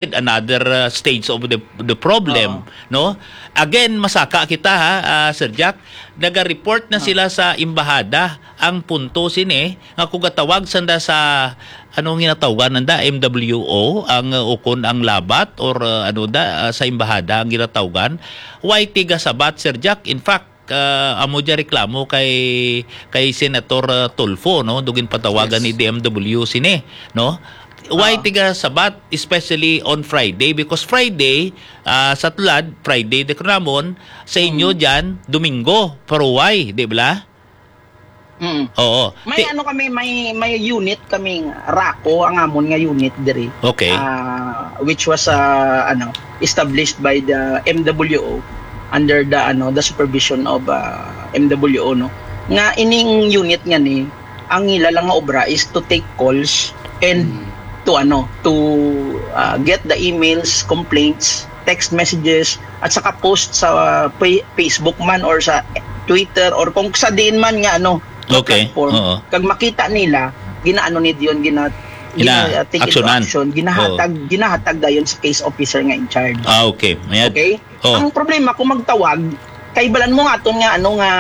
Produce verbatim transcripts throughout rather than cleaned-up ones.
another, uh, stage of the the problem, no? Again, masaka kita, ha, ah, Sir Jack, naga-report na sila sa embahada. Ang punto sini nga kung gatawag sanda sa, anong ginatawgan nanda, M W O, ang, uh, ukon ang labat, or, uh, ano da, uh, sa embahada ang ginatawgan, way tigasabat, Sir Jack. In fact, uh, amo dya reklamo kay kay Senator, uh, Tulfo, no, dugin patawagan ni D M W sini, no? Way tigasabat, especially on Friday, because Friday, ah, sa tulad, Friday de Cramon, sa inyo dyan, Domingo, paruway, di ba? Mm. Oo. May Ti- ano kami, may may unit kaming RACO, ang amon nga unit diri. Okay. Ah, which was, ah, ano, established by the M W O under the, ano, the supervision of, ah, M W O, no. Nga ining unit nga ni, ang ila lang nga obra is to take calls and to, ano, to, ah, get the emails, complaints, text messages, at saka post sa, ah, pa- Facebook man or sa Twitter or kung sa diin man nga, ano, nga Okay. platform. Oo. Kag makita nila, ginaano ni diyon, gina, gina, uh, take into Gina-aksyonan. action, ginahatag, Oo. ginahatag dayon sa case officer nga in charge. Ah, okay. Mayad. Okay? Oh. Ang problema, kung magtawag, kay balan mo nga aton nga, ano, nga,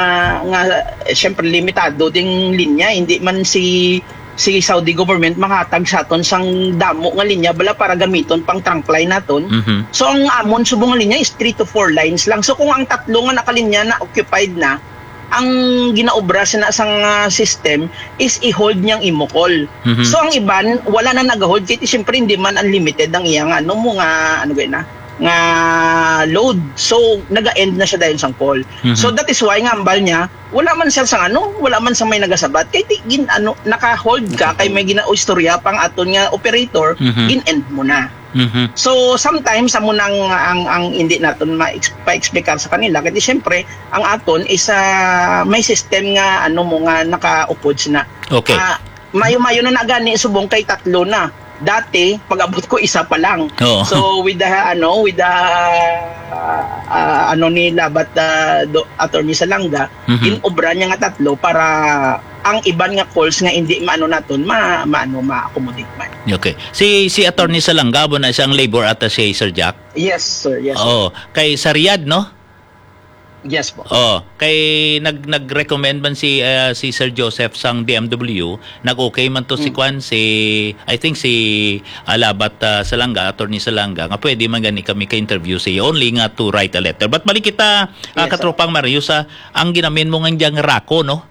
nga, eh, syempre, limitado ding linya, hindi man si si Saudi government makahatag sa aton sang damo nga linya bala para gamiton pang trunk line naton. Mhm. So, ang amon subong nga linya is three to four lines lang. So, kung ang tatlo nga nakalinya na occupied na, ang ginaobra sina sang, ah, system is i-hold niyang imo call. Mhm. So, ang iban, wala na nag-hold. Kaya, siyempre, hindi man unlimited ang iya nga, ano mo nga, ano ba yun, ah, nga load. So, naga-end na siya dayon sang call. Mhm. So, that is why nga ambal niya, wala man siya sang ano, wala man sa may nagasabat. Kay di, gin, ano, naka-hold ka, kay may ginaistorya pang aton nga operator, Mhm. gin-end mo na. Mhm. So, sometimes, amo nang ang, ang hindi naton ma-ex-, pa-explicar sa kanila. Kay di, siyempre, ang aton is, ah, may system nga, ano mo, nga nakaupod sina. Okay. Ah, mayo-mayo na nagani, subong kay tatlo na. Dati, pag-abot ko, isa pa lang. Oo. So, with the, ano, with the, ah, ano ni Labat, ah, do, Attorney Salanga, Mhm. in-obra niya nga tatlo para ang iban nga calls nga hindi maano naton, ma-, maano, ma-accommodate man. Okay. Si, si Attorney Salanga, amo na siyang labor attaché, Sir Jack? Yes, sir. Yes, sir. Oo. Kay sa Riyadh, no? Yes po. Oh, kay nag-, nag-recommend man si, ah, si Sir Joseph sang D M W, nag-okay man to si Mm. Kwan, si, I think si, ah, Labat, ah, Salanga, Attorney Salanga, nga pwede man gani kami ka-interview siya, only nga to write a letter. But balik kita, ah, Yes, sir. Katropang Mario, sa ang ginamin mo nga diyang RACO, no?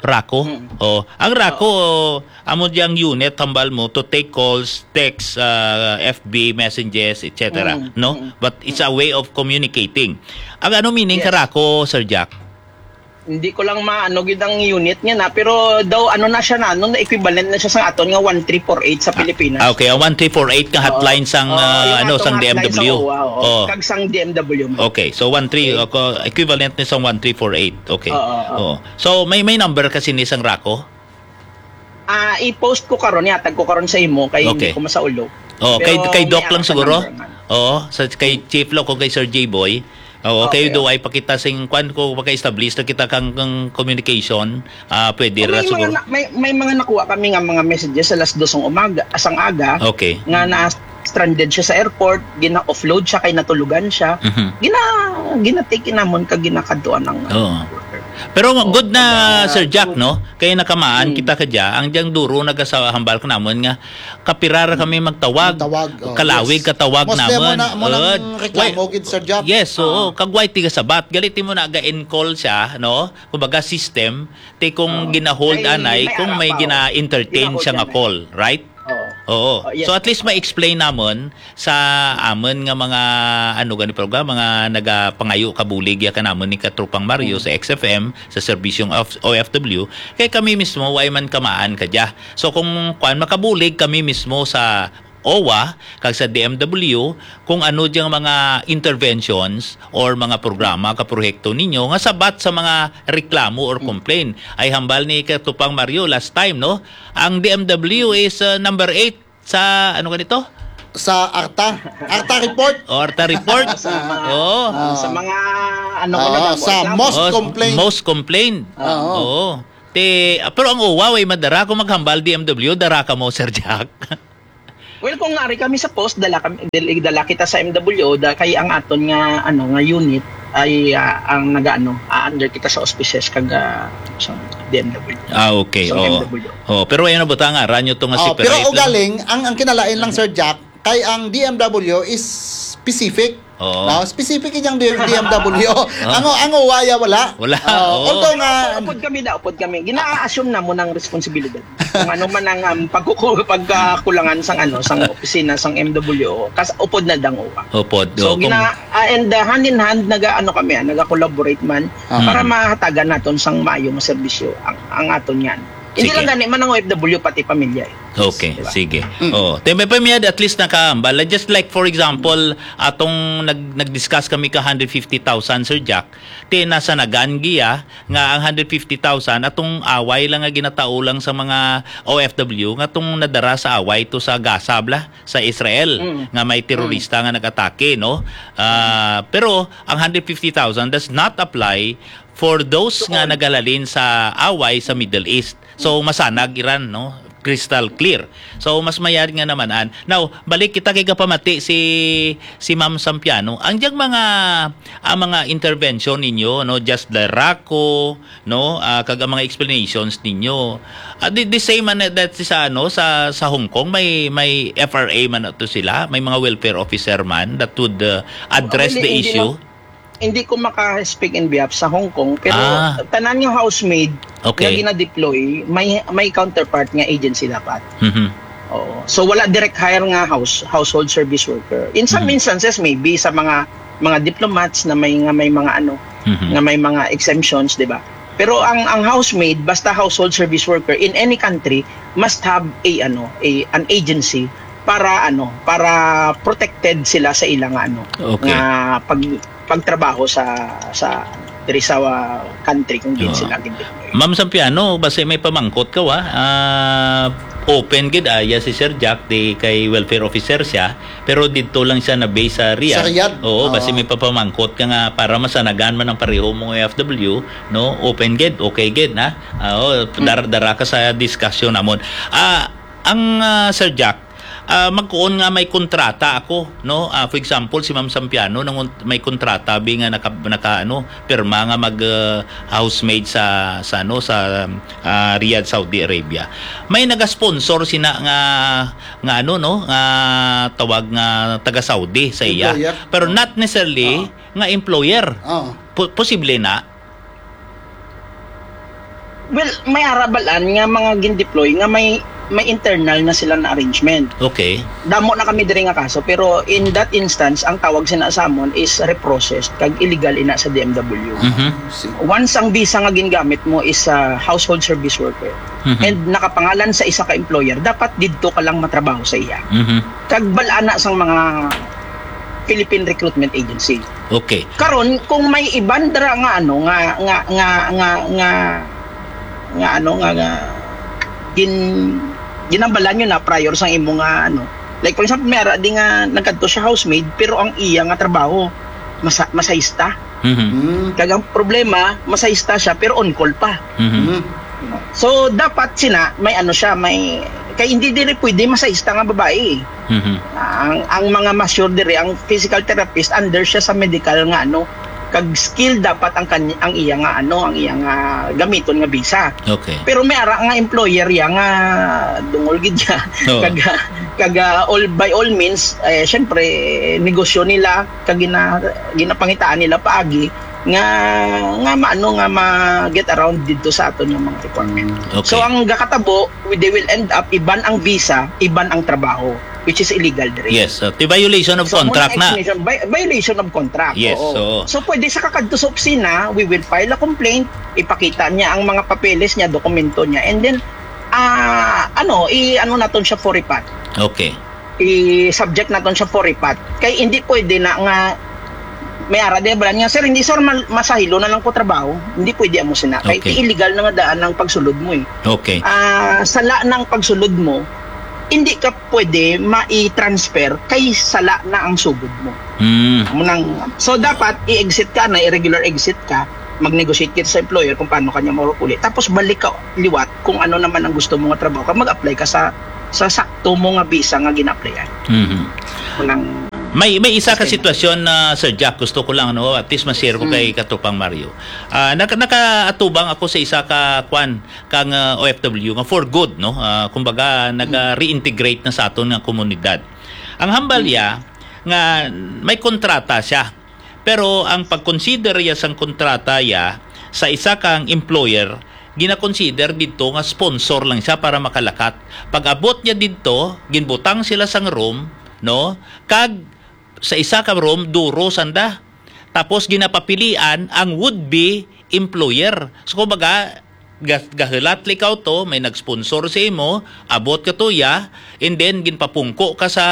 RACO? Mm. Oh, ang RACO, amo diyang unit, hambal mo, to take calls, text, ah, F B messages, et cetera, Mm, no? mm, But it's mm. a way of communicating. Ang ano meaning Yes. ka RACO, Sir Jack? Hindi ko lang maano gid ang unit niya na, pero daw ano na siya na, ano, equivalent na siya sa aton nga one three four eight sa Pilipinas. Ah, okay, ang one three four eight ka Oo. hotline sang, Oo, ah, yung ano, atong sang hotline D M W. sa O W A, oo. Oh. Kag sang D M W man. Okay, so one three, Okay. ako, equivalent ni sang one three four eight. Okay. Oo, oo. Oo. So, may, may number kasi ni sang RACO? Ah, i-post ko karon, ihatag ko karon sa imo kay hindi Okay. ko masaulo. Oh, kay, Pero kay Doc may lang ako siguro. number nga. Oo, sa kay Chief lang ko kay Sir J-Boy. Oo, Okay, kay oo. Duay pakita sing kwan ko maka-establish na kita kang, kang communication. Ah, pwede Kung ra may mga siguro. na-, may, may mga nakuha kami nga mga messages sa alas dos ng umaga, asang aga, Okay. nga na stranded siya sa airport, gina-offload siya kay natulugan siya. Mhm. Gina-, gina-take in namon kag ginakadtuan ang Oo. worker. Pero Oo, good na, pag, ah, Sir Jack, good. no? Kaya nakamaan Hmm. kita kadya, ang diyang duro nagasa-, hambal ka namon nga kapira ra kami magtawag, Magtawag, oh, kalawig yes. katawag Mostly namon. mo na, mo nang Good. reklamo Why-, gid, Sir Jack. yes, oo. Ah. Kag why tigasabat? Galit mo na ga-in-call siya, no? Kumbaga system, ti kung Oo. gina-hold May, anay, may kung ara may pa, oh. gina-entertain Gina-hold siya nga anay. call, right? Oo. Oo. Oh, yes. So, at least ma-explain namon sa amon nga mga, ano gani, program, mga nagapangayo kabulig ya kanamon ni Katropang Mario Mm. sa X F M, sa serbisyong of O F W, kay kami mismo, way man kamaan kadya. So, kung kwan, makabulig kami mismo sa O W A, kag sa D M W, kung ano diyang mga interventions or mga programa, kaproyekto ninyo, nga sabat sa mga reklamo or Mm. complaint. Ay hambal ni Katropang Mario last time, no? Ang D M W is, uh, number eight sa, ano ka nito? Sa ARTA. ARTA report. O, ARTA report. Sa mga, Oo. Ah. sa mga, ano ko na Oo, damo, sa reklamo. most Oh, complaint. most complaint. Oo. Oo. Ti, ah, pero ang O W A, way madara kung maghambal D M W, dara ka mo, Sir Jack. Well, kung ari kami sa post, dala kami, dala, dala kita sa M W O, da, kay ang aton nga, ano, nga unit ay, ah, ang nagaano, ah, under kita sa auspices kag, ah, sa D M W. Ah, okay. Sa Oo. M W O. Oh, pero ano ba ta nga ranyo to nga Oh, separate? pero ugaling, ang, ang kinalain lang, Sir Jack, kay ang D M W O is specific. Oo. No? Specific yung D M W O. Ang, ang uwaya wala. Wala. Oh, Oo. although nga, Upod kami na, upod kami. Gina-assume na mo ng responsibilidad. Kung ano man ang, um, pagkuku- pagkakulangan sang, ano, sang opisina sang M W O, kas upod na dang uwa. Upod. So Oh, kung- gina ah, and, uh, hand in hand naga ano kami, ah, naga-collaborate man Ah. para mahatagan naton sang maayo nga serbisyo ang, ang aton nga. Hindi Sige. Lang gani man ang O F W, pati pamilya eh. Okay, Diba? sige. Oh, te may pamiyad at least nakahambal. Just like for example, atong nag nag-discuss kami ka hundred fifty thousand, Sir Jack, te nasanagan giya nga ang hundred fifty thousand atong away lang nga ginatao lang sa mga O F W nga tong nadara sa away to sa Gaza bla, sa Israel, Mm. nga may terorista nga nag-atake, no? Ah, pero ang hundred fifty thousand does not apply for those nga nagahalin sa away sa Middle East. So masanag Iran, no? Crystal clear. So mas mayad nga naman an. Now, balik kita kay kapamati si si Ma'am Sampiano. Ang diyang mga ang mga intervention ninyo, no, just the RACO, no, ah, kag ang mga explanations ninyo. Ah, the, the same man that sa ano sa sa Hong Kong may may F R A man to sila, may mga welfare officer man that would uh, address Actually, the hindi issue. ma- hindi ko maka-speak in behalf sa Hong Kong, pero Ah. tanan nga housemaid Okay. Nga gina-deploy, may may counterpart nga agency dapat. Mhm. Oo. So wala direct hire nga house household service worker. In some Mhm. instances maybe sa mga mga diplomats na may nga may mga ano, Mhm. nga may mga exemptions, di ba? Pero ang ang housemaid basta household service worker in any country must have a ano, a an agency para ano, para protected sila sa ilang ano, Okay. nga pag pagtrabaho sa sa diri sa uh, country kung diin Oo. Sila gindeploy. Ma'am Sampiano, basi may pamangkot ka wa? Ah, open gid aya si Sir Jack di kay welfare officer siya, pero didto lang siya na base sa Riyadh. Sa Riyadh? Oo, basi Oo. May papamangkot ka nga para masanagan man ang pareho mong O F W, no? Open gid, okay gid na. Ah, oh, dar dara ka sa discussion namon. Ah, ang ah, Sir Jack, ah, magkuon nga may kontrata ako, no? Ah, for example, si Ma'am Sampiano nangon may kontrata bi nga naka, naka ano, pirma nga mag ah, housemaid sa sa ano sa ah, Riyadh, Saudi Arabia. May nagasponsor sina nga nga ano no, nga tawag nga taga Saudi sa iya. Employer. Pero not necessarily nga employer. Oh. Po- posible na. Well, may arabalan nga mga gindeploy nga may may internal na sila na arrangement. Okay. Damo na kami diri nga kaso, pero in that instance ang tawag sina sa amon is reprocessed kag illegal ina sa D M W. Mhm. See. Once ang visa nga gingamit mo is sa household service worker Mhm. and nakapangalan sa isa ka employer, dapat didto ka lang matrabaho sa iya. Mhm. Kag bal-ana sang mga Philippine Recruitment Agency. Okay. Karon kung may iban dira nga ano nga nga nga nga nga, nga ano nga, nga gin ginambalan nyo na prior sang imo nga ano, like for example may ara di nga nagkadto siya housemaid pero ang iya nga trabaho masa, masahista. Mhm. Mm. Kag ang problema masahista siya pero on call pa. Mhm. Mm. So dapat sina may ano siya may kay hindi diri pwede masahista nga babae. Mhm. Ang ang mga mature diri ang physical therapist under siya sa medical nga ano kag skill dapat ang kanya, ang iya nga ano ang iya nga gamiton nga visa. Okay. Pero may ara nga employer ya nga dungol gid ya. Oo. Kag kag all by all means eh syempre negosyo nila kag gina, ginapangitaan nila paagi nga nga maano nga ma get around dito sa aton nga mga requirement. Okay. So ang gakatabo, they will end up iban ang visa, iban ang trabaho, which is illegal diri. Yes, uh, the violation of So, contract muna na. Explanation, vi- violation of contract. Yes, Oo. oo. So pwede sa kakadto sa opisina, we will file a complaint, ipakita niya ang mga papeles niya, dokumento niya, and then ah ano, i ano naton siya for repat. Okay. I-subject naton siya for repat. Kay hindi pwede na nga may ara di ba nga sir, hindi sir mal- masahilo na lang ko trabaho. Hindi pwede amo sina. Kay Okay. illegal na nga daan ang pagsulod mo eh. Okay. Ah, sala ng pagsulod mo, hindi ka pwede mai-transfer kay sala na ang sugod mo. Hmm. Amo nang so dapat i-exit ka na irregular exit ka, mag-negotiate kita sa employer kung paano kanya maulap uli. Tapos balik ka liwat kung ano naman ang gusto mo nga trabaho ka, mag-apply ka sa sa sakto mo nga visa nga gina-applyan. Mhm. Unang May, may isa ka sitwasyon na, Sir Jack, gusto ko lang, no, at least ma-share ko Mm. kay Katropang Mario. Ah, naka-, nakaatubang ako sa isa ka, kwan, kang, ah, O F W nga for good, no? Ah, kumbaga, Mm. naga-reintegrate na sa aton nga komunidad. Ang hambal Mm. niya nga may kontrata siya. Pero ang pag-consider iya sang kontrata iya sa isa kang employer, gina-consider didto nga sponsor lang siya para makalakat. Pag-abot niya didto, ginbutang sila sang room, no? Kag sa isa ka room, duro sanda. Tapos ginapapilian ang would-be employer. So, kumbaga, ga-, gahulat ikaw to, may nag-sponsor sa imo, abot ka to, ya, and then ginpapungko ka sa,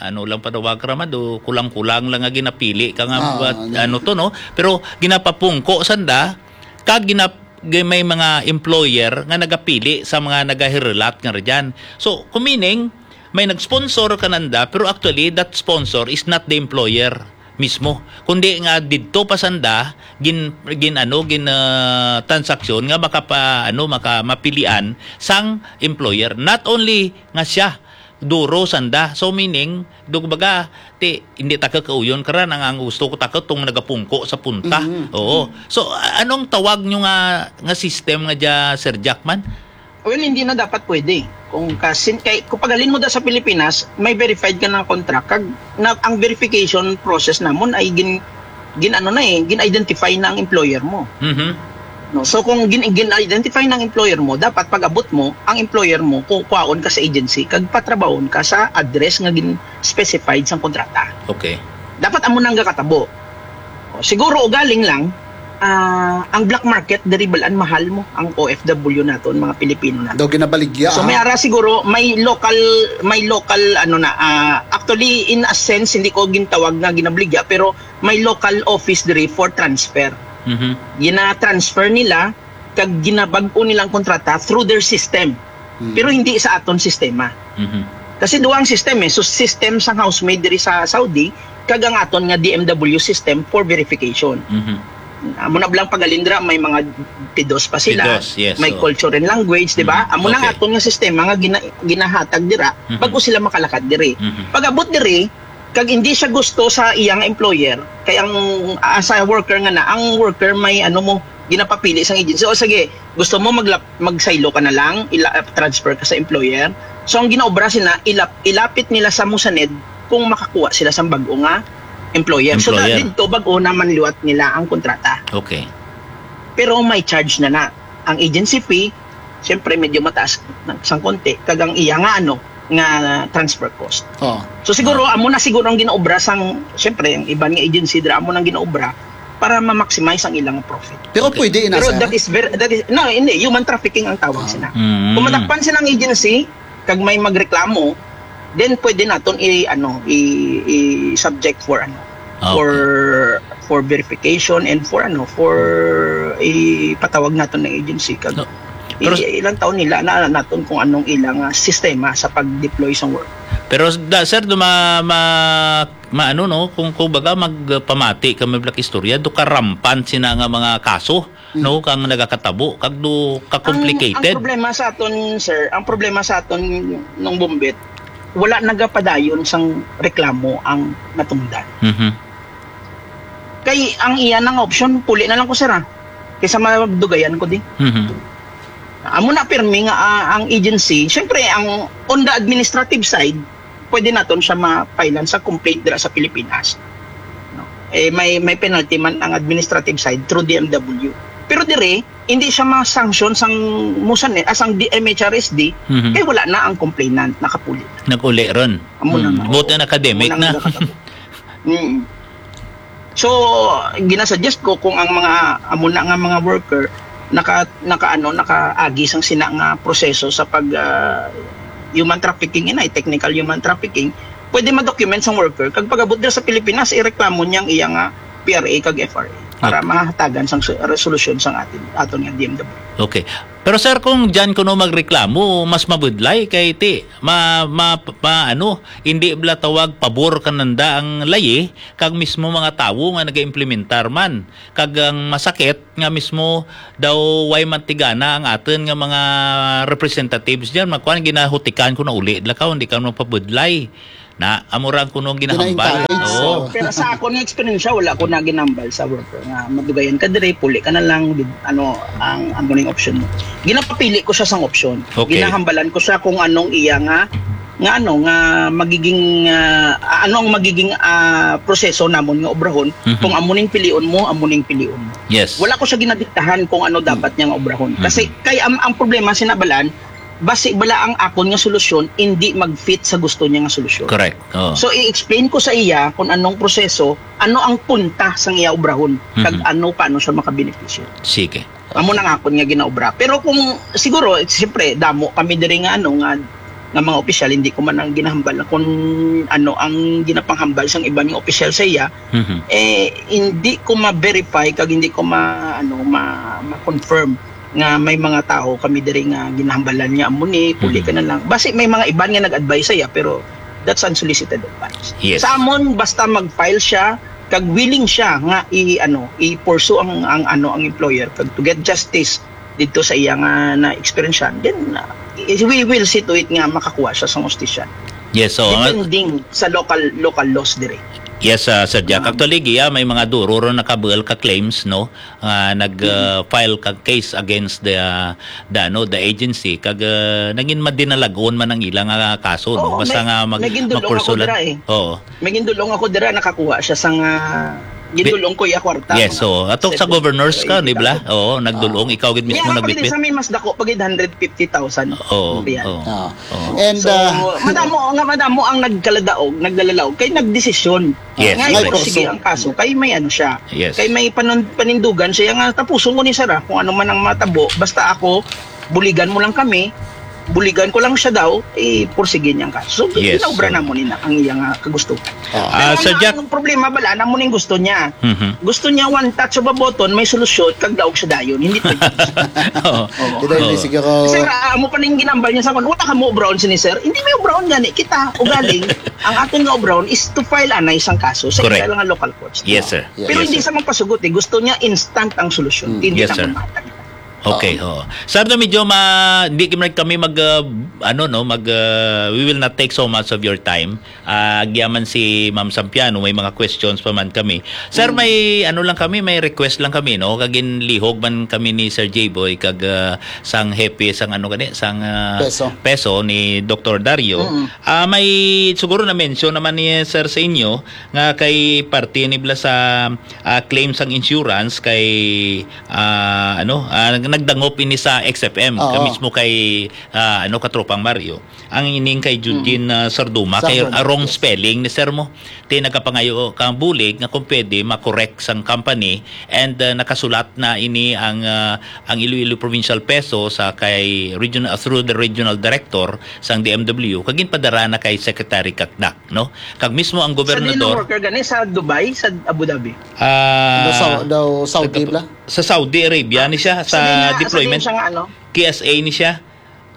ano lang panawag ra man, do, kulang-kulang lang nga ginapili ka nga, Ah, but, ano. ano to, no? Pero ginapapungko sanda, kag ginap-, gi-, may mga employer nga nagapili sa mga nagahirulat nga ra dyan. So, kung meaning, may nag-sponsor kananda, pero actually, that sponsor is not the employer mismo, kundi nga didto pa sanda gin, gin, ano, gin, ah, transaksyon nga makapa, ano, maka, mapilian sang employer. Not only nga siya, duro sanda. So, meaning, do, kumbaga, ti, hindi ta kakauyon karan ang, ang gusto ko ta katong nagapungko sa punta. Mhm. Oo. So, a-, anong tawag nyo nga, nga system nga dya, Sir Jackman? Well, hindi na dapat pwede. Kung kasin-, kay, kung paghalin mo da sa Pilipinas, may verified ka na contract. Kag, na, ang verification process namon ay gin-, gin-, ano na eh, gin-identify na ang employer mo. Mhm. No? So, kung gin-, gin-identify na ang employer mo, dapat pag-abot mo, ang employer mo, ku-, kuhaon ka sa agency, kag patrabahon ka sa address nga gin-specified sang kontrata. Okay. Dapat amo nang gakatabo. O, siguro ugaling lang, ah, ang black market, diri balaan mahal mo ang O F W naton, mga Pilipino naton. Daw ginabaligya, So, may ah. ara siguro, may local, may local, ano na, ah, actually, in a sense, hindi ko gintawag nga ginabaligya, pero may local office diri for transfer. Mhm. Gina-transfer nila, kag ginabag-o nilang kontrata through their system. Hmm. Pero hindi sa aton sistema. Mhm. Kasi duha ang system eh. So, system sang housemaid diri sa Saudi, kag ang aton nga D M W system for verification. Mhm. Amo na lang pag-alindra, may mga pidos pa sila, Pidos, yes, may so. culture and language, di ba? Mhm. Amo na ang Okay. aton nga sistema nga gina-, ginahatag dira, Mhm. bago sila makalakad diri. Mhm. Pag-abot diri, kag hindi siya gusto sa iyang employer, kay ang, ah, sa worker nga na, ang worker may ano mo, ginapapili sang agency. O sige, gusto mo maglap-, magsaylo ka na lang, ila-, transfer ka sa employer. So, ang ginaobra sila, ilap-, ilapit nila sa Musaned kung makakuha sila sang bag-o nga employer. So, Employer. didto, bag-o na manliwat nila ang kontrata. Okay. Pero may charge na na. Ang agency fee, siyempre, medyo mataas na, sang konti. Kag ang iya nga, ano, nga transfer cost. Oh. So, siguro, Ah. amo na siguro ang ginaobra sang, siyempre, ang iban nga agency, dira amo nang ginaobra para ma-maximize ang ilang profit. Pero Okay. pwede ina, Pero sir? that is very, that is, no, hindi, human trafficking ang tawag Ah. sina. Mm. Kung madakpan silang agency, kag may magreklamo, then pwede naton i-, ano, i-, i-subject for, ano, Ah, okay. for, for verification and for, ano, for ipatawag naton ng agency. Kag No. Pero i-, ilang taon nila na naton kung anong ilang, ah, sistema sa pag-deploy sa work. Pero da, sir, do ma-, ma-, maano, no, kung, kung baga magpamati ka, may black istorya, do karampant sina nga mga kaso, Mm. no, kang nagakatabo, kag do Ang, ka-complicated. ang problema sa aton, sir, ang problema sa aton nung Bumbit, wala nagapadayon sang reklamo ang natungdan. Mhm. Kay ang iya nang option, puli na lang ko, sir, ah. Kaysa magdugayan ko di. Mhm. Amo na pirmi nga, ah, ang agency, syempre, ang on the administrative side, pwede naton siya ma-filean sa complaint dira sa Pilipinas. No? Eh, may, may penalty man ang administrative side through D M W. Pero dire, hindi siya ma-sanction sang Musaned, ah, sang D-, M H R S D, Mhm. kay wala na ang complainant, nakapuli. Nag-uli ron. Amo na Hmm. nga, Buti oo. na academic Amo na na. nga nakatabo. Mm. So, ginasuggest ko kung ang mga, amo na nga mga worker, naka, naka, ano, nakaagi sang sina nga proseso sa pag, ah, human trafficking, inay, technical human trafficking, pwede ma-document sang worker. Kag pag-abot dira sa Pilipinas, ireklamo niya ang iya nga P R A kag F R A para Okay. mahatagan sang su-, resolusyon sang atin, aton nga D M W. Okay. Pero sir, kung diyan kuno magreklamo, mas mabudlay kay ti ma, ma, ma ano, hindi bala tawag pabor kananda ang layi kag mismo mga tawo nga nagaimplementar man. Kag ang masakit nga mismo daw way mantigana ang aton nga mga representatives diyan, magkuan, ginahutikan ko na uli, dila ka, hindi ka magpabudlay. Na, amo ra ang kuno ginahambal. Gina-encourage. Oo. Oo, pero sa akon nga eksperyensya, wala ko na ginambal sa worker nga madugayan ka dire, puli ka na lang, di, ano, ang amo ning option mo. Ginapapili ko siya sang option. Okay. Ginahambalan ko siya kung anong iya nga, nga ano, nga magiging, ah, ano ang magiging, ah, proseso namon nga obrahon, Mhm. kung amo ning pilion mo, amo ning pilion mo. Yes. Wala ko siya ginadiktahan kung ano dapat niya nga obrahon. Mhm. Kasi kay ang, ang problema, sinabalan, basi bala ang akon nga solusyon hindi mag-fit sa gusto niya nga solusyon. Correct. Oh. So, i-explain ko sa iya kung anong proseso, ano ang punta sang iya obrahon, kag Mhm. ano, paano siya makabenepisyo. Sige. Amo na nga akon nga ginaobra. Pero kung, siguro, siyempre, damo kami diri nga, ano, nga, nga mga opisyal, hindi ko man ang ginahambal na kung ano ang ginapanghambal sang iban nga opisyal sa iya, Mhm. eh, hindi ko ma-verify kag hindi ko ma-, ano, ma-, ma-confirm nga may mga tawo kami diri nga ginahambalan niya, "Amo ni, puli Mhm. ka na lang." Basi may mga iban nga nag-advise sa iya, pero that's unsolicited advice. Yes. Sa amon, basta mag-file siya, kag willing siya nga i-, ano, i-pursue ang, ang, ano, ang employer kag to get justice didto sa iya nga na-eksperyensyahan, then, uh, we will see to it nga makakuha siya sa hustisya. Yes, so, uh, Depending sa local, local laws diri. Yes, uh, Sir Jack. Um, Actually, Gia, may mga duro ron nakabuel ka claims, no? Ah, nag, Mm. uh, file ka case against the, uh, the, ano, the agency. Kag, uh, naging madinalagon man ang ilang, uh, kaso, no? Oo, Basta may, nga mag-, naging dulong ako magkursulan. Dira, eh. Oo. May gindulong ako dira, nakakuha siya sang, ah, gindulong ko iya kwarta, Yes, mga so, ato sa seven, governors ka, eight di ba? thousand. Oo, nagdulong, Ah. ikaw gid mismo Niya, nagbitbit. Sa may mas dako pa gid, hundred fifty thousand. Oo, Yan. Oo. Oo. And, So, ah, madamo nga, madamo ang nagkaladaog, nagdalalaog, kay nagdesisyon. Yes, Nga correct. Ipursige ang kaso, kay may ano siya. Yes. Kay may panon-, panindugan siya nga, "Tapuson ko ni Sara, kung ano man ang matabo, basta ako, buligan mo lang kami, buligan ko lang siya daw, eh, pursige niya ang kaso." So, Yes, ginaobra so namo ni na ang iya nga kagustuhan. Ah. Pero Ah, Sir ang, Jack. Ang problema, bala, namo ning gusto niya. Mhm. Gusto niya one touch of a button, may solusyon, kag daog siya dayon. Hindi pwede. Oo. Oo. Kita yung Oo. Sige ko. Sir, ah, amo pa ning ginambal niya sa akon, "Wala ka mo brown sini, sir." Hindi may brown gani. Kita, ugaling, ang aton nga brown is to file anay sang kaso sa Correct. Isa lang nga local courts. Yes, sir. Yes, Pero hindi sir. Sa magpasugot, eh. Gusto niya instant ang solusyon. Mm. Hindi Yes, na sir. Magmatag. Okay, Oo. Oo. Sir, no, medyo ma-, hindi kami, kami mag, uh, ano, no, mag, uh, we will not take so much of your time. Ah, agyaman si Ma'am Sampiano, may mga questions pa man kami. Sir, Mm. may ano lang kami, may request lang kami, no? Kag ginlihog man kami ni Sir J-Boy, kag, uh, sang hepe, sang ano gani, sang, uh, Peso. Peso ni Doktor Dario. Mm. Ah, may siguro na-mention naman ni Sir sa inyo nga kay parte ni bala sa, ah, claim sang insurance kay, ah, ano, ah, nag-, nagdangop ini sa X F M, Oo. ka mismo kay, ah, ano, Katropang Mario. Ang ining kay Judgin, Mm. ah, Sarduma, kay Sarduma, wrong yes. Spelling ni sir mo. Ti nagapangayo ka bulig nga kung pwede ma-correct sang company and, ah, nakasulat na ini ang, ah, ang Iloilo Provincial Peso sa kay region-, ah, through the regional director sang D M W, kag ginpadara na kay Secretary Cacdac, no? Kag mismo ang Sa gobernador dino worker gani sa Dubai, sa Abu Dhabi? Ah, Daw Sau-, daw Saudi nagkap-, bla? Sa Saudi Arabia ni siya, Sa sa di nga, sa deployment. Di siya nga ano? K S A ni siya.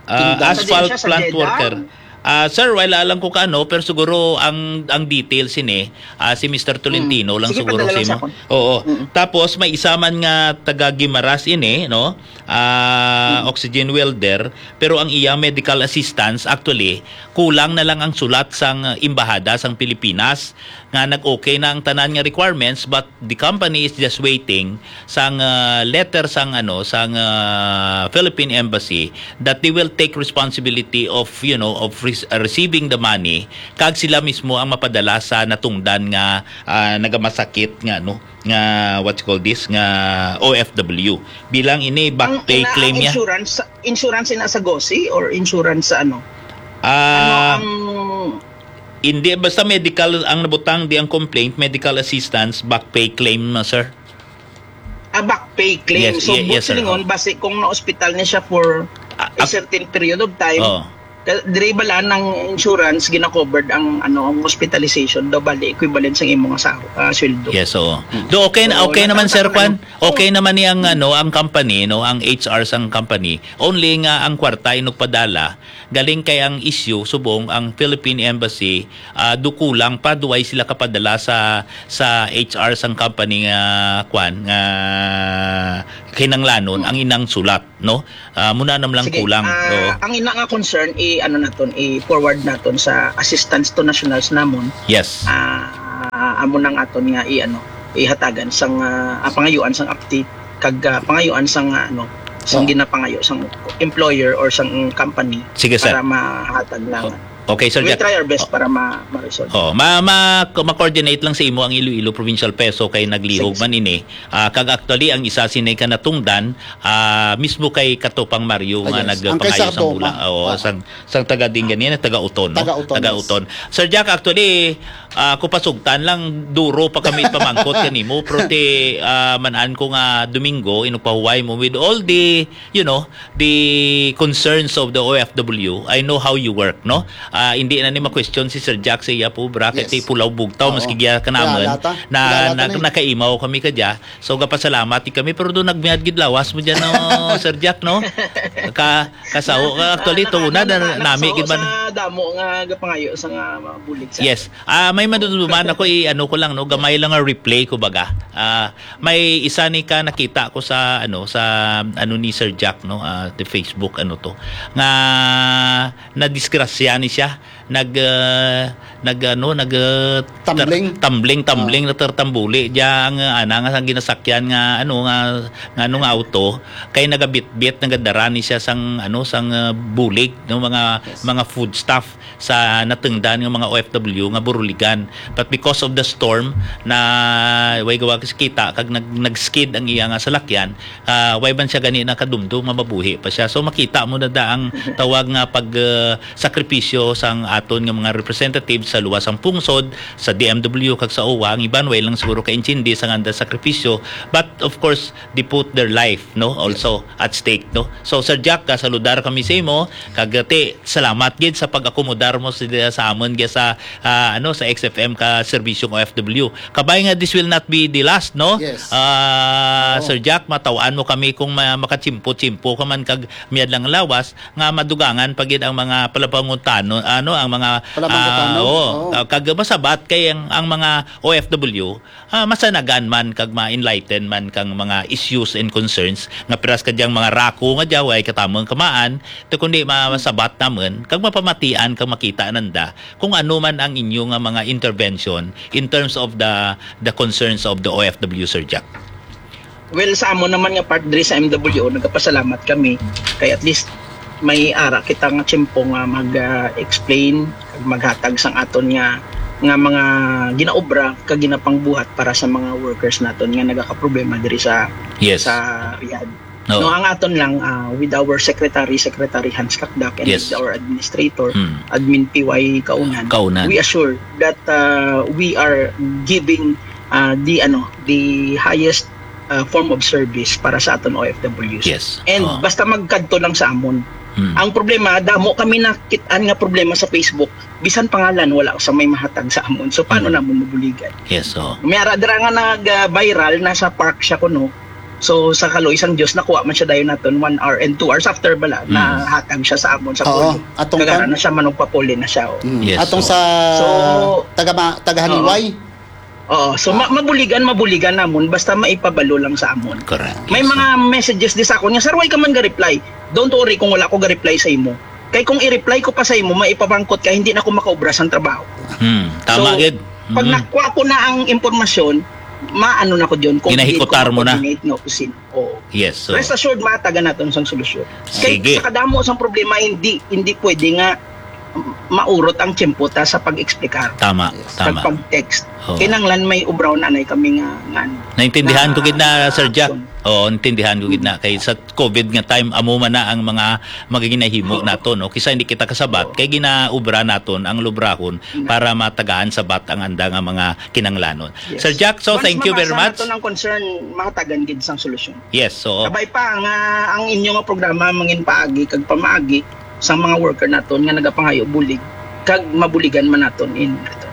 Ah, Kingdom. Asphalt Sa di siya sa plant Jeddah? Worker. Ah, sir, wala lang ko kaano, pero siguro ang, ang details ini, ah, si Mister Tolentino Mm. lang Sige, siguro padala lang si sa mo. Akon. Oo. Mm. Tapos may isa man nga taga Guimaras ini, no? Ah, Mm. Oxygen welder, pero ang iya medical assistance, actually, kulang na lang ang sulat sang embahada sang Pilipinas nga nag-okay na ang tanan nga requirements, but the company is just waiting sang, ah, letter sang, ano, sang, ah, Philippine Embassy that they will take responsibility of, you know, of re-, receiving the money, kag sila mismo ang mapadala sa natungdan nga, ah, nagamasakit nga, ano, nga, what you call this, nga O F W. Bilang ini back Ang pay ina-, claim ang niya. Insurance, insurance ina sa gosi or insurance sa ano? Ah, Ano ang hindi, basta medical ang nabutang, di ang complaint, medical assistance, back pay claim, sir. Ah, back pay claim. Yes, So, ye-, yes, sir. Buot silingon, Oh. Basi kung na-hospital niya siya for Ah, a ah, certain period of time, oh. Eh, diri bala ang insurance, gina-covered ang, ano, ang hospitalization daw, bali equivalent sa imo nga sa, ah, sweldo. Yes, oo. Do, okay na, So, okay naman, nagtataka sir, kwan? naman. Okay naman ni ang, ano, ang company, no, ang H R sang company. Only nga ang kwarta inugpadala, galing kay ang issue, subong ang Philippine Embassy, ah, do kulang pa, duway sila kapadala sa, sa H R sang company nga, kwan, nga kinanglanon, ang inang sulat, no? Ah, muna nam lang Sige, kulang. ah, Oo. ang ina nga concern, i-, ano naton, i-forward naton sa assistance to nationals namon. Yes. Ah, amo nang aton nga i-, ano, ihatagan sang, ah, ah, pangayuan sang apti, kag, ah, pangayuan sang, ah, ano, sang Oo. ginapangayo sang employer or sang company Sige, sir. para mahatag na. O-, okay, Sir We'll Jack. try our best O-, para ma-, ma-resolve. Oh, ma-, ma-, ma-coordinate lang sa imo ang Iloilo Provincial Peso kay naglihog Sige, man sir. ini. Ah, kag actually, ang isa sini ka natungdan, ah, mismo kay Katupang Mario Ah, nga yes. Ang kay nagpangayo sang Sardo, bula. ma-, Oo, ah. sang, sang taga din ganina, taga Uton, no? Taga Uton, Taga yes. Uton. Sir Jack, actually, ah, ako pasugtan lang, duro pa kami pamangkot kanimo, pero ti, ah, manan ko nga Domingo, inugpahuway mo with all the, you know, the concerns of the O F W. I know how you work, no? Ah, hindi na ni ma-question si Sir Jack sa iya po, bra, kay Yes. ti pulaw bugtaw, Oo. maski giya ka naman, Kilala ta. na, Kilala ta na, na eh. nakaimaw kami ka dya. So, gapasalamat ti kami, pero doon nagmiyad gid lawas mo dyan, no, Sir Jack, no? Ka, kasaho ka, actually, Naka-, to una, naka-, na, nami nakasaho gid man. sa damo nga gapangayo sa nga mga bulig sa Yes. Ah, may maduduman ako, i-, ano ko lang, no, gamay lang nga replay ko baga. Ah, may isa ni ka nakita ko sa, ano, sa, ano ni Sir Jack, no, ah, the Facebook, ano to, nga nadisgrasya ni siya, nag, ah, nag, ano, nag, ah, ter-, Tumbling. tumbling, tumbling, Ah. natertambuli, diya ang, ah, ana nga, ang ginasakyan nga, ano, nga, nga, ano, nga auto, kay nagabitbit, nagadara ni siya sang, ano, sang, ah, bulig, no, mga, Yes. mga foodstuff. sa natungdan nga mga O F W nga buruligan. But because of the storm, na way gawa kita, kag nag-, nag-skid ang iya nga salakyan, ah, way man siya gani nakadumdum nga mabuhi pa siya. So, makita mo na da ang tawag nga pag, ah, sakripisyo sang aton nga mga representatives sa luwas sang pungsod, sa D M W, kag sa owa. Ang iban, way lang siguro kaintindi sa nganda sakripisyo. But, of course, they put their life, no, also at stake, no. So, Sir Jack, ah, saludar kami sa imo, kag, ah, ti, salamat gid sa pag-akomodar mo sa, sa amon gid sa, ah, ano, sa X F M ka serbisyong O F W. Kabay nga this will not be the last, no? Yes. Ah, Oo. Sir Jack, mataw-an mo kami kung ma-, makachimpo-chimpo ka man kag miyad lang lawas, nga madugangan pa gid ang mga palapangutano, ano, ang mga, Palapangutano? ah, oo. Oo. Ah, kag masabat kay ang, ang mga O F W, ah, masanagan man kag ma-enlighten man kang mga issues and concerns nga piras ka diyang mga rako nga diya, way katamong kamaan, to kundi ma-, masabat naman, kag mapamatian kag makita nanda kung ano man ang inyo nga mga intervention in terms of the, the concerns of the O F W, Sir Jack. Well, sa amo naman nga part diri sa M W O, nagapasalamat kami kay at least may ara kita nga tiyempo nga mag, ah, explain, maghatag sang aton nga, nga mga ginaobra kag ginapangbuhat para sa mga workers naton nga nagakaproblema diri sa, Yes. sa Riyadh. Oo. No, ang aton lang, ah, with our secretary, Secretary Hans Kakdak, and Yes. with our administrator, Mm. Admin P Y Kaunan, Kaunan. we assure that, ah, we are giving, ah, the, ano, the highest, ah, form of service para sa aton O F Ws. Yes. And Oo. basta magkadto lang sa amon. Mm. Ang problema, damo kami nakit-an nga problema sa Facebook. Bisan pangalan, wala sa may mahatag sa amon. So, paano Mm. namon mabuligan? Yes, oo. May ara dira nga nag, ah, viral, nasa park siya kuno. So, sa kaluoy sang Dios, nakuha man siya dayon naton one hour and two hours after bala, Mm. nahatag siya sa amon sa Oo, polling. atong Kagara kan- na siya, manugpapolling na siya, oh. Mm. Yes, Atong oo. sa So, taga ma-, taga Oo. Haniway. Oo, so, ma-, mabuligan, mabuligan namon, basta maipabalo lang sa amon. Correct. May Yes, mga oo. messages di sa akon nga, "Sir, why ka man ga-reply?" Don't worry kung wala ko ga-reply sa imo. Kay kung i-reply ko pa sa imo, maipabangkot ka, hindi na ko makaobra sang trabaho. Hmm, tama So, gid. pag Mm. nakuha ko na ang impormasyon, maano na ko dyan kung Ginahikutar hindi ko mo na. ma-coordinate nga opisina. Oo. Yes, so Rest assured, matagan naton sang solusyon. Kay Sige. sa kadamo sang problema, hindi, hindi pwede nga maurot ang tiyempo ta sa pag-explicar. Tama, Yes. tama. Pag-, pag-text. Oo. Kinahanglan may ubraw na anay kami nga, nga, Naintindihan nga ko gid na, Sir Jack. action. Oo, naintindihan ko gid na. Kay sa COVID nga time, amo man na ang mga, mga ginahimo Oo. nato, no? Kisa hindi kita kasabat, Oo. kay ginaubra naton ang lubrahon Mm. para matagaan sabat ang anda nga mga kinanglanon. Yes. Sir Jack, so Once thank you very mabasa much. naton ang concern, mahatagan gid sang solusyon. Yes, so Kabay pa nga ang inyo nga programa mangin paagi kag pamaagi, sa mga worker naton nga nagapangayo bulig kag mabuligan man naton in return.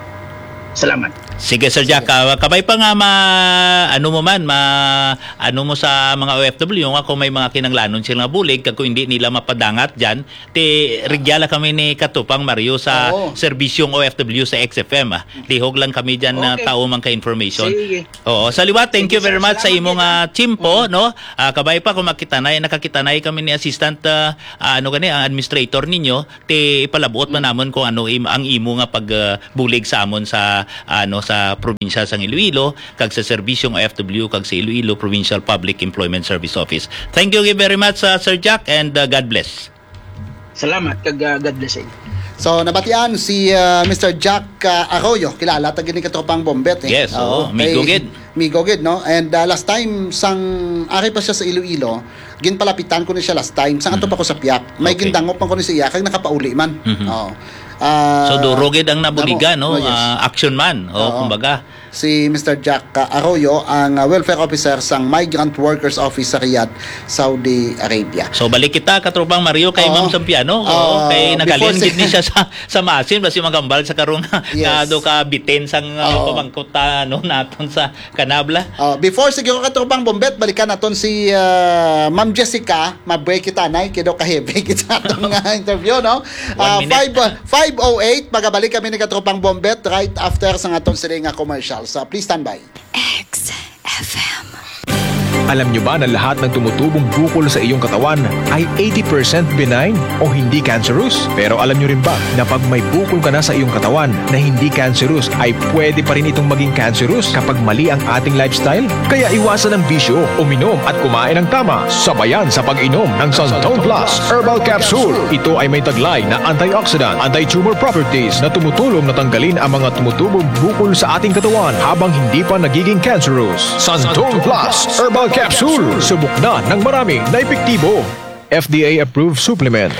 Salamat. Sige, Sir Jack, ah, kabay pa nga ma-, ano mo man, ma-, ano mo sa mga O F W nga kung may mga kinanglanon sila nga bulig, kag kung hindi nila mapadangat dyan, ti, rigya la kami ni Katropang Mario sa Oo. serbisyong O F W sa X F M, ah. Lihog lang kami dyan na Okay. tao man ka information. Sige. Oo, sa liwat, thank Sige, you very sir. much sa Salamat imong, gid, ah. ah, tiyempo, Mm. no? Ah, kabay pa kung makitanay, nakakitanay kami ni Assistant, ah, ah, ano gani, ang administrator ninyo, ti ipalabot man Mm. namon kung ano im-, ang imo nga pag, ah, bulig sa amon sa, ano, sa probinsya sang Iloilo, kag sa serbisyong O F W, kag sa Iloilo Provincial Public Employment Service Office. Thank you very much, ah, Sir Jack, and, ah, God bless. Salamat, kag, ah, God bless sa inyo. So, nabatian si, ah, Mister Jack, ah, Arroyo. Kilala ta gid ni Katropang Bombet, eh. Yes, oo. Oo, migo kay gid. Migo gid, no? And, ah, last time, sang ari pa siya sa Iloilo, ginpalapitan ko ni siya last time. Sang ato Mm. pa ko sa Piak. May Okay. gindangop man ko ni sa iya, kag nakapauli man. Mhm. Oo. Ah, So, duro gid ang nabuligan, damo. no? Oh, yes. Ah, action man. Oh, Oo. kumbaga. Si Mister Jack, ah, Arroyo, ang, ah, welfare officer sang Migrant Workers Office sa Riyadh, Saudi Arabia. So, balik kita, Katropang Mario, kay Oo. Ma'am Sampiano. Oo, Oo, kay before nagaling si gid ni siya sa, sa masin, basi magambal sa karong Yes. nga do ka bitin sang, uh, Oo. pamangkot, uh, ano, naton sa kanabla. Oh, before siguro, Katropang Bombet, balikan naton si, uh, Ma'am Jessica. Ma-break kita, nay, kay do ka heavy kita atong, uh, interview, no? One Uh, minute. five, uh, five oh eight, magabalik kami ni Katropang Bombet right after sa aton sini nga commercial. So, please stand by. X F M. Alam nyo ba na lahat ng tumutubong bukol sa iyong katawan ay eighty percent benign o hindi cancerous? Pero alam nyo rin ba na pag may bukol ka na sa iyong katawan na hindi cancerous, ay pwede pa rin itong maging cancerous kapag mali ang ating lifestyle? Kaya iwasan ang bisyo, uminom at kumain ng tama, sabayan sa pag-inom ng Santon Plus Herbal Capsule. Ito ay may taglay na antioxidant, anti-tumor properties na tumutulong na tanggalin ang mga tumutubong bukol sa ating katawan habang hindi pa nagiging cancerous. Santon Plus Herbal Capsule. Subok na ng marami na epektibo. F D A approved supplement.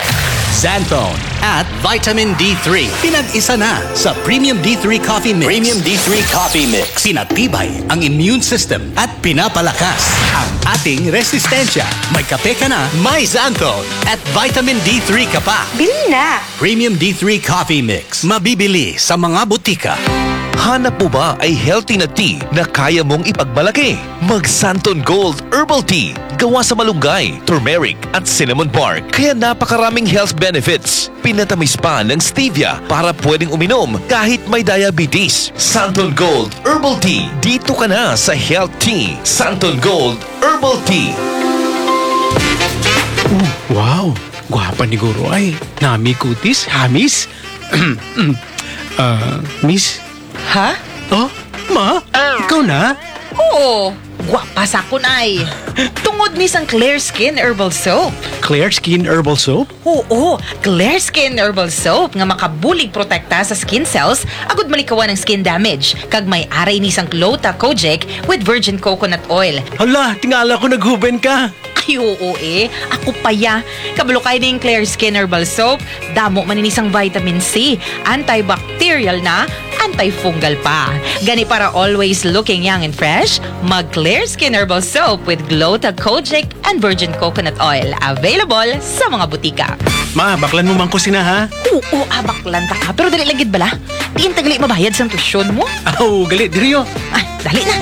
Xanthone at Vitamin D three. Pinag-isa na sa Premium D three Coffee Mix. Premium D three Coffee Mix. Pinatibay ang immune system at pinapalakas ang ating resistensya. May kape ka na, may Xanthone at Vitamin D three ka pa. Bili na! Premium D three Coffee Mix. Mabibili sa mga butika. Hanap mo ba ay healthy na tea na kaya mong ipagmalaki? Mag Santon Gold Herbal Tea. Gawa sa malunggay, turmeric, at cinnamon bark. Kaya napakaraming health benefits. Pinatamis pa ng stevia para pwedeng uminom kahit may diabetes. Santon Gold Herbal Tea. Dito ka na sa Health Tea. Santon Gold Herbal Tea. Oh, wow! Gwapa ni Guro ay. Nami kutis, hamis. Ah, miss? Ha? Oh, ma? Ikaw na? Oo, gwapa sa akon ay. Tungod ni sang Clear Skin Herbal Soap. Clear Skin Herbal Soap? Oo, Clear Skin Herbal Soap nga makabulig protekta sa skin cells agud malikawan ang skin damage. Kag may aray ni sang Gluta Kojic with virgin coconut oil. Hala, tingala ko naghuben ka. Ay, oo eh. Ako pa ya. Kabalo kay ning Clear Skin Herbal Soap. Damo man ini sang vitamin C, antibacterial na, antifungal pa. Gani para always looking young and fresh, mag Clear Skin Herbal Soap with Gluta Kojic and Virgin Coconut Oil. Available sa mga butika. Ma, baklan mo man ko sina, ha? Oo, abaklan ta ka. Pero dali lang gid bala. Diin ta gali mabayad sang tuition mo? Aw, gali, diri, oh. Ay, dali na.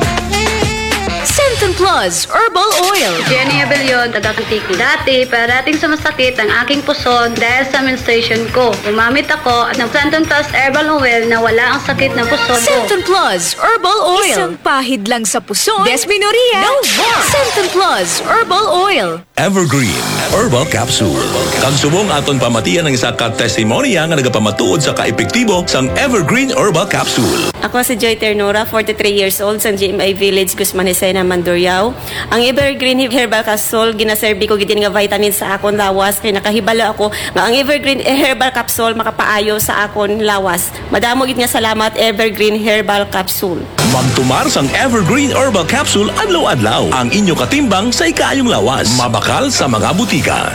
Centon Plus Herbal Oil. Jenny Abellion, taga Antique. Dati, parating sumasakit ang aking puson dahil sa menstruation ko. Gumamit ako ng Centon Plus Herbal Oil na wala ang sakit ng puson ko. Centon Plus Herbal Oil. Isang pahid lang sa puson, dysmenorrhea, no more. Centon Plus Herbal Oil. Evergreen Herbal Capsule. Kag subong aton pamatian ang isa ka testimonya nga nagapamatuod sa kaepektibo sang Evergreen Herbal Capsule. Ako si Joy Ternura, forty-three years old, sa G M I Village, Guzman Jesenia, Mandurriao. Ang Evergreen Herbal Capsule, ginaserbi ko gid nga vitamin sa akon lawas, kay nakahibalo ako nga ang Evergreen Herbal Capsule makapaayo sa akon lawas. Madamo gid nga salamat, Evergreen Herbal Capsule. Magtumar sang Evergreen Herbal Capsule adlaw-adlaw. Ang inyo katimbang sa ikaayong lawas. Mabak- Kal sa mga butika.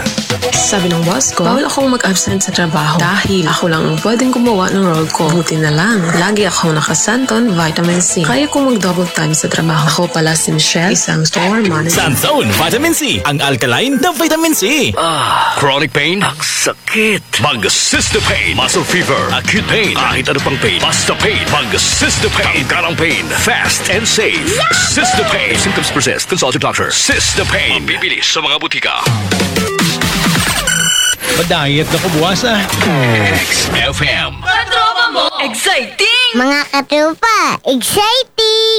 Sabi ng boss ko, bawal akong mag-absent sa trabaho dahil ako lang ang pwedeng gumawa ng role ko. Buti na lang, lagi akong nakasanton vitamin C. Kaya kong mag-double time sa trabaho. Ako pala si Michelle, isang store manager. Santon Vitamin C, ang alkaline na vitamin C. Ah, chronic pain? Ang sakit. Mag Sister Pain. Muscle fever, acute pain, kahit ano pang pain. Basta pain. Mag Sister Pain. Tanggal ang pain. Fast and safe. Sister Pain. If symptoms persist, consult your doctor. Sister Pain. Mabibili sa mga butika. Madayat na ko buwas, ah. X F M. Katropa mo, exciting! Mga katropa, exciting!